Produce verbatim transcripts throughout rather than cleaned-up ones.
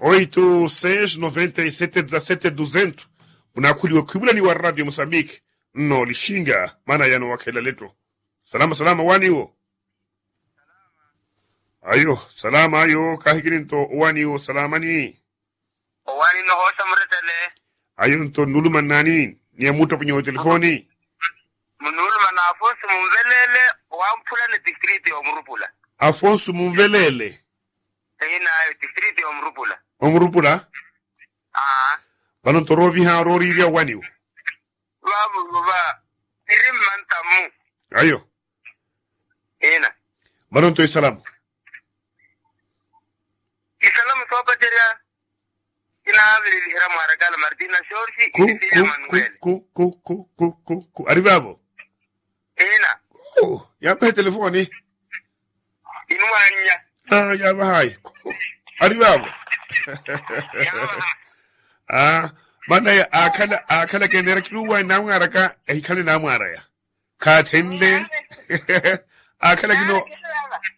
Oito seis noventa e sete dezasete duzentos. Munakhuliwa khwivulani wa radio mosambiki. Nno lixinga maana yano wakhela letto. Salama salama waniwo. Ayo salama ayo kahikini nto waniwo salamani. Owani nno hoosa muretele. Ayo nto nuluma nnani ni amuttapunye wa telefoni. Munuluma na afonso munvelele. Wamphula ni distriti omurupula. Afonso munvelele. Ina distriti omurupula. Omurupula. Aa. Vano nto rooviha rooriirya owaniwo. Vavo va iri mmantamu. Ayo. Ina. Vano nto isalamu. Isalamu soopacerya. Kinaavililiherya mwarakala martina shorsi. Ku ku ku ku ku ku ku ku ari vavo. Ina. Yaavaha etelefoni. Inwannya. Yaavahayi. Ari vavo. Maana akhala akhala keneera kiruwa namwaraka ehikhale namwaraya. Khaathenle. Akhala kino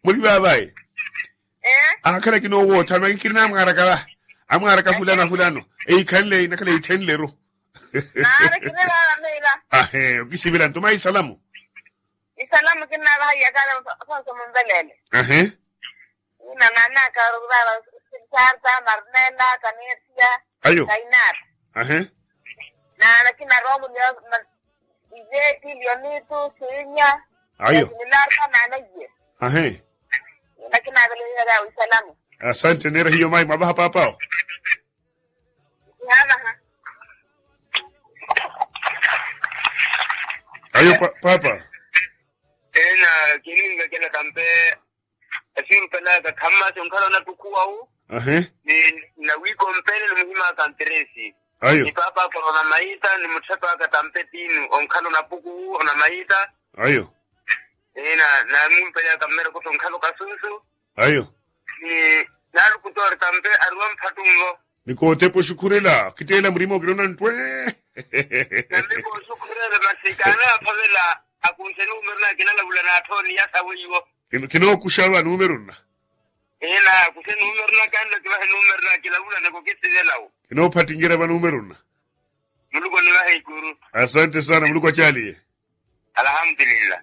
muli vavayi. Akhala kino wootha makikiri namwaraka va. Amwaraka fulano fulano. Eikhanle inakhala eithenleru. Ahe okisivela ntuma isalamu. Isalamu kinavaha iyakhala. Sonso mumvelele. Ahe. Ina nanaka vava. Sarta marnela kanetia. Ayo. Kainata. Ahe. Nana kina romu lio. Iveti lionitu sinya. Ayo. Nilarta nana iye. Ahe. Ina kina vele ina vya isalamu. Asante nera hiyo mai mavaha papao. Ayo papa. Ena kininga kela kampe. Asiru pelaka khamasi onkhala onatukhuwa wu. Ni nawiikompele ni muhimaka nteresi. Ayo. Ni papa akora onamaita ni mutthepa aka tampe tinu onkhala onapuku wu onamaita. Ayo. Ena namumpelaka mmereko sonkhala okasunsu. Ayo. Ni naalukutoori tampe aruwa mphattunlo. Nikootepa oxukhurela kiteela murima okirona ntwe. Nambi kooxukhurela masi kaana aphavela. Akunxe numeru na kinalavula naathooni yasa weiwo. Kinookuxa va numeru nna. Ina akunxe numeru na kanla kivahe numeru na kilavula niko kisivelawo. Kinoophattincerya va numeru nna. Muluku onivahe ikuru. Asante sana muluku acaaliye. Alhamdulillah.